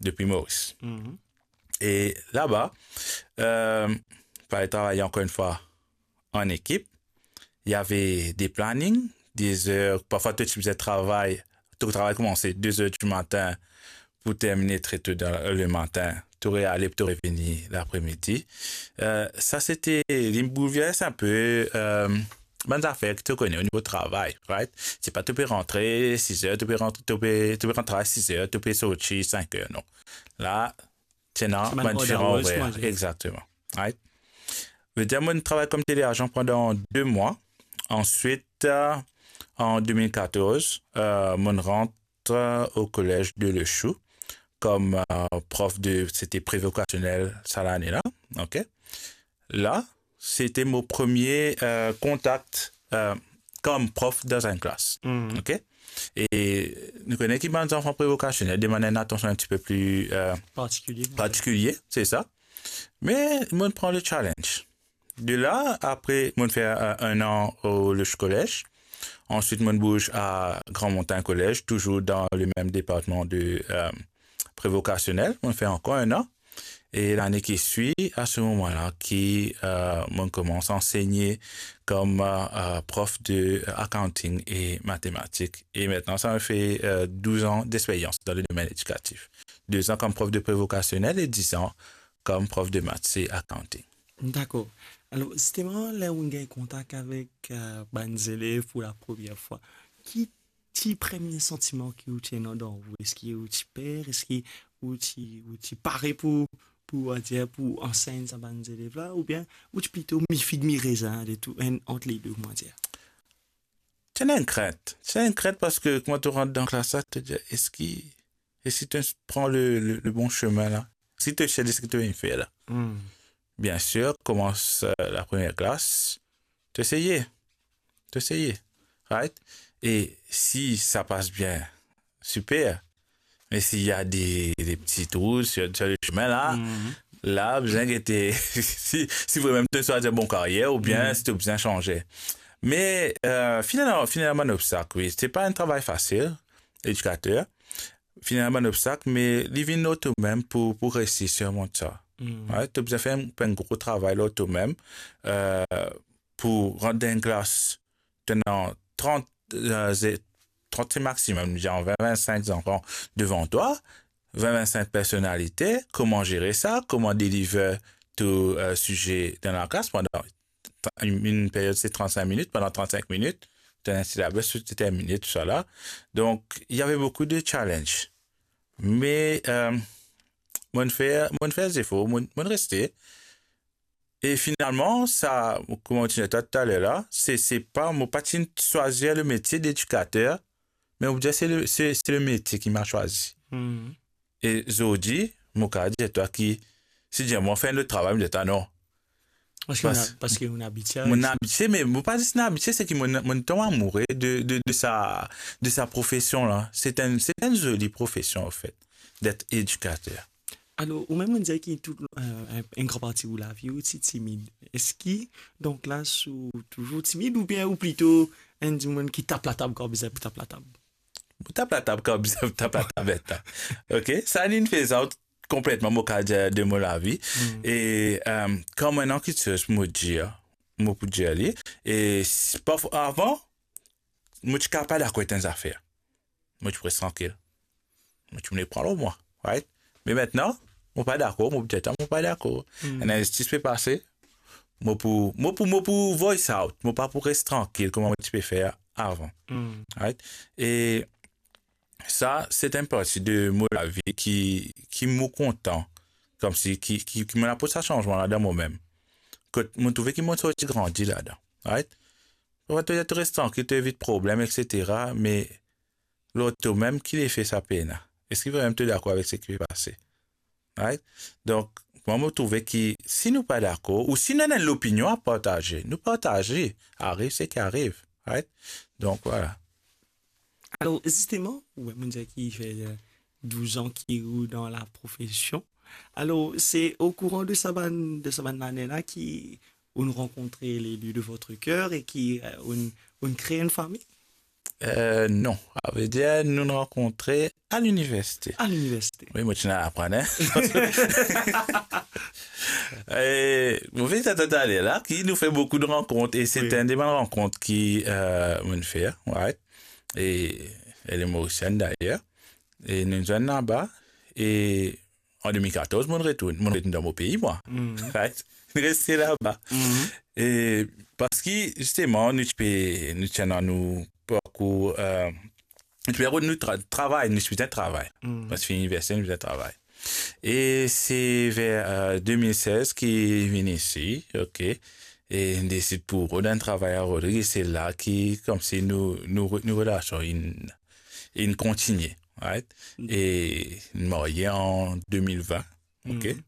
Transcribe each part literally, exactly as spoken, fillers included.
depuis Maurice. Et là-bas, euh, fallait travailler encore une fois en équipe. Il y avait des plannings, des heures. Parfois, toi, tu faisais travail, ton travail commençait deux heures du matin pour terminer très tôt dans le matin. Tu aurais allé, tu aurais venu l'après-midi. Euh, ça, c'était, il bouleverse un peu, euh, bann zafer ki to kone o nivo travay, right? Se pa to pe rantre sis er, to pe rantre, to pe, to pe rantre travay sis er, to pe sorti sink er, non. La, ti ena bann diferan orer. Exactement. Right? Vedir, mo'nn travay kom teleazan pandan de mwa. Answit, euh, an de mil katorz, euh, mo'nn rant, euh, au collège de Le Chou comme, euh, prof de, c'était prévocationel sa lane la, ok? La, c'était mon premier, euh, contact, euh, comme prof dans une classe, ok? E nou kone ki bann zanfan prévocationel demann enn atansion un petit peu plus, euh, particulier, c'est ça. Mais mo'nn pran le challenge. De là, après, mo'nn fer, euh, un an au, le collège. Ensuite, mo'nn bouz à Grand Montagne Collège, toujours dans le même département de, euh, prévocationel. Mo'nn fer ankor un an. Et l'année qui suit, à ce moment-là, qui, euh, mo'nn koumans ansegne comme, euh, euh, prof de, euh, accounting et mathématiques. Et maintenant, ça me fait, euh, douze ans d'expérience dans le domaine éducatif. Deux ans comme prof de prévocationel et dix ans comme prof de maths et accounting. Dakor. Alor, zisteman, ler ou gagn kontak avek, euh, bann zelev pou lapremier fwa, ki ti premie santiman ki ou ti ena dan ou? Eski ou ti per? Eski ou ti, ou ti pare pou, pou, on va dire, pou ansegn sa bann zelev la? Oubien ou ti plito mi fig mi rezin, de tou, enn ant le de, on va dire? Ti ena enn krint. Ti ena enn krint parski kouma to rant dan klas la, to dir, eski, eski to pran le, le, le bon sime la? Eski to sir de seki to vinn fer la? Bien sûr, commence, euh, la première classe, to eseye, to eseye, right? Et si ça passe bien, super. Mais s'il y a des, des petits trous sur, sur le chemin là, là, bizin gete si, si vraiment to swazir bon carrière oubien si to bizin sanze. Mais, euh, finalement, finalement, obstak, oui. C'est pas un travail facile, éducateur. Finalement, obstak, mais li vinn lor to mem pou, pou resi sirmont sa. Ouais, to bizin fer un, un gros travail lor to mem, euh, pou rant dan enn klas, to ena trant, euh, ze-, trant maximum, genre vingt, vingt-cinq enfants devant toi, vingt, vingt-cinq personnalités, comment gérer ça, comment délivrer ton, euh, sujet dans la classe pendant une, une période, c'est trente-cinq minutes, pendant trente-cinq minutes, tu as un syllabus, tu termines tout ça là. Donc, il y avait beaucoup de challenges. Mais, euh, mo'nn fer, mo'nn fer zefor, mo'nn, mo'nn reste. E finalman, sa, kouma mo ti dir twa taler la, se, se pa, mo pa ti swazir le métier d'éducateur, me mo dir se le, se, se le métier qui m'a choisi. E zordi, mo kapav dir twa ki, si dir mwa fer enn lot travay, mo dir twa non. Parski ou ena, parski ou ena abitie a sa. Mo ena abitie, me mo pa zis ena abitie, se ki mo, mo tonbe amour de, de, de sa, de sa profession la. C'est un, c'est une jolie profession, en fait, d'être éducateur. Alor, ou mem ou dir ki tou, euh, enn, enn gran parti ou lavi, ou ti timid. Eski, donk la, ou touzour timid oubien ou plito enn dimoun ki tap latab kan bizin pou tap latab? Mo tap latab kan bizin pou tap latab, eta. Ok? Sa, li finn fer sa konpletman, mo kapav dir, de mo lavi. E, euh, kan mo ena kiksoz pou mo dir, mo pou dir li. E si, parfwa, avan, mo ti kapav pa dakor ek enn zafer. Mo ti pou res trankil. Mo ti pou pran lor mwa, right? Me aster, mo pa dakor, mo pou dir twa mo pa dakor. Enn inzistis pe pase, mo pou, mo pou, mo pou voice out, mo pa pou res trankil kouma mo ti pe fer avan, right? E sa, se enn parti de mo lavi ki, ki mo kontan, koumsi ki, ki, ki mo aport sa sanzman la dan mo mem. Kot mo trouve ki mo sorti grandi ladan, right? Parfwa to, to res trankil, to evit problem, et cetera, me lor to mem, ki lefe sa pena? Eski vremem to dakor avek seki pe pase? Right? Donk, mwa, mo trouve ki si nou pa dakor, ou si nou ena enn lopinion a partaze, nou partaze. Ariv seki ariv, right? Donk, vwala. Alor, zisteman, ou mem dir ki fer, euh, douz an ki ou dan la profesion. Alor, se o kouran de sa bann, de sa bann lane la ki ou'nn rankontre l'élu de votre cœur e ki, euh, ou'nn, ou'nn kre enn fami? Euh, non. Savedir, nou'nn rankontre a liniversite. A liniversite. Wi, mo ti ena aprann, hein? E, mo finn dir twa taler la ki nou fer boukou de rankont, e se Wi. enn de bann rankont ki, euh, mo'nn fer, right? E elle est mauricienne d'ailleurs. E nou zwenn laba, e an de mil katorz, mo'nn retourn, mo'nn retourn dan mo pei, mwa. Mhm. Right? Reste laba. Mhm. E parski, zisteman, nou ti pe, nou ti ena nou parkour, euh, nou ti pe rod nou tra-, travay, nou ti bizin travay. Mhm. Kan ti fini liniversite, nou bizin travay. E se ver, euh, de mil sez ki vinn isi, ok. E nou desid pou rod enn travay a Rodrig, e se la ki, koumsi nou, nou re-, nou relasion inn, inn kontigne, right? Mm. E nou marye an de mil vin, ok? Mm.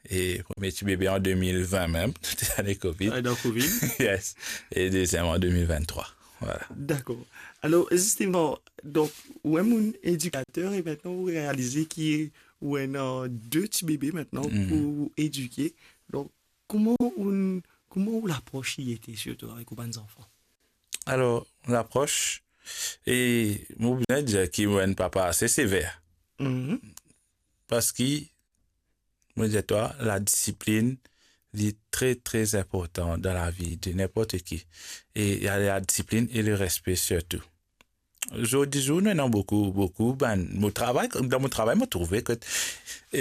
E premie ti bebe an de mil vin mem, tou lane Covid. Ah, dan Covid? Yes. E deziem an de mil vinn-trwa. Voilà. Dakor. Alor, zisteman, donk, ou enn edikater e mintnan ou realize ki ou ena de ti bebe mintnan Mm. pou edike. Donk, kouma ou, kouma ou lapros li ete, sirtou avek ou bann zanfan? Alor, lapros, e mo bizin dir ki mo enn papa ase sever. Mhm. Parski, mo dir twa, ladisiplin, li tre, tre inportan dan lavi de ninport ki. E la, ladisiplin e lerespe sirtou. Zordi zour, nou ena boukou, boukou bann, mo travay, dan mo travay, mo trouve ki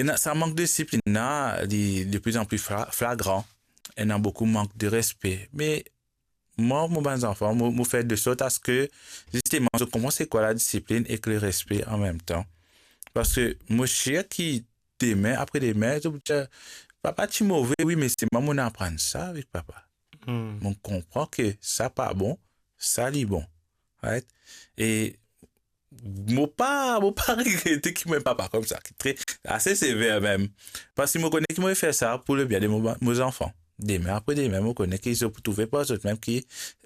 ena sa mank de disiplin la, li de plus en plus fla-, flagran. Ena boukou mank de respe. Me mwa, mo bann zanfan, mo, mo fer de sort aske, zisteman, zot konpran se kwa ladisiplin ek lerespe an mem tan. Parski mo sir ki demin, apre demin, zot pou dir, "Papa ti move, wi, me se mwa, mo'nn aprann sa avek papa." Hmm. Mo konpran ki sa pa bon, sa li bon. Right? E mo pa, mo pa regrete ki mo enn papa koumsa, ki tre, ase sever mem. Parski mo kone ki mo fer sa pou lebien de mo, mo zanfan. Demin apre demin, mo kone ki zot pou trouve par zot mem ki,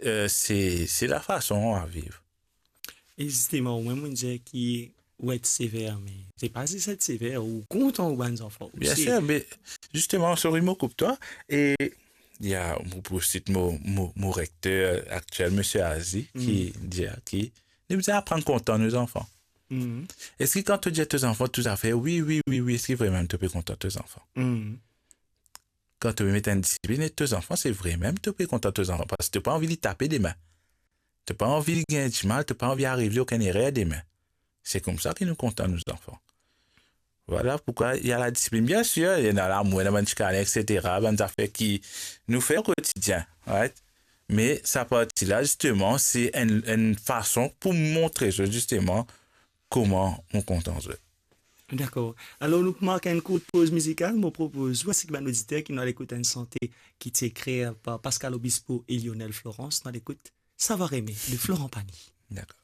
euh, se, se lafason a viv. E zisteman, ou mem, ou dir ki ou et sever, me se pa zis et sever, ou kontan ou bann zanfan osi. Bien sir, me zisteman, sorry, mo koup twa, e, ya, mo pou sit mo, mo, mo rekter aktiel, Misie Azi, ki Mm. dir ki nou bizin aprann kontan nou zanfan. Mm. Eski kan to dir to zanfan tou zafer, wi, wi, wi, wi, eski vremem to pe kontan to zanfan? Mm. Kan to pe met enn disiplin, e to zanfan, se vremem to pe kontan to zanfan, parski to pa anvi li tape demin. To pa anvi li gagn dimal, to pa anvi ariv li okenn erer demin. Se koumsa ki nou kontan nou zanfan. Voilà pourquoi il y a la discipline. Bien sûr, il y a l'amour, il y a bann ti kane, et cetera, bann zafer ki nou fer o kotidien, right? Me sa parti la, zisteman, se enn, enn fason pou montre zot, zisteman, kouma nou kontan zot. Dakor. Alor, nou pou mark enn kourt poz mizikal. Mo propoz ou, ainsi que bann oditer, ki nou al ekout enn sante ki ti ekrir par Pascal Obispo e Lionel Florence. Nou al ekout Savoir aimer de Florent Pagny. Dakor.